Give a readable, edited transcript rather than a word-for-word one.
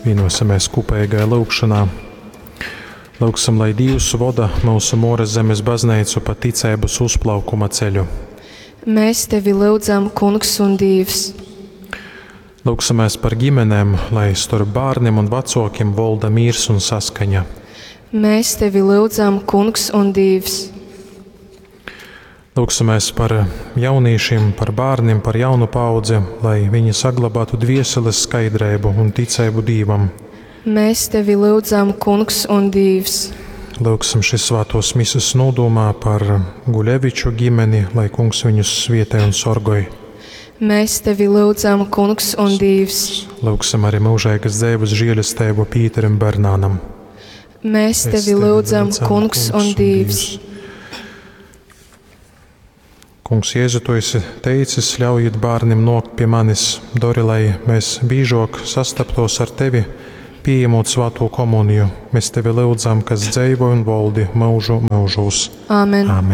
Vienosimies kopīgajā lūgšanā. Lūgsim, lai Dievs voda mūsu Mūras zemes baznīcu pa ticeibas uzplaukuma ceļu. Mēs tevi lūdzam, Kungs un Dievs. Lūksimies par ģimenēm, lai starp bērniem un vecākiem valda mīrs un saskaņa. Mēs tevi lūdzam, Kungs un Dievs. Lūksimies par jauniešiem, par bērniem, par jaunu paudzi, lai viņi saglabātu dvieseles skaidrību un ticību Dievam. Mēs tevi lūdzam, Kungs un Dievs. Lūksim šis svētos mises nodomā par Guļeviču ģimeni, lai kungs viņus svietē un sorgoj. Mēs tevi lūdzam, Kungs un Dievs. Lūksim arī mūžīgas dzīves žēlastību Pīterim Bernānam. Mēs tevi lūdzam, Kungs un Dievs. Kungs, Jēzu, tu esi teicis, ļaujiet bērniem nokt pie manis, dori, lai mēs biežāk sastaptos ar tevi, pieņemot svēto komuniju. Mēs tevi lūdzam, kas dzīvo un valdi mūžu mūžos. Āmen. Āmen.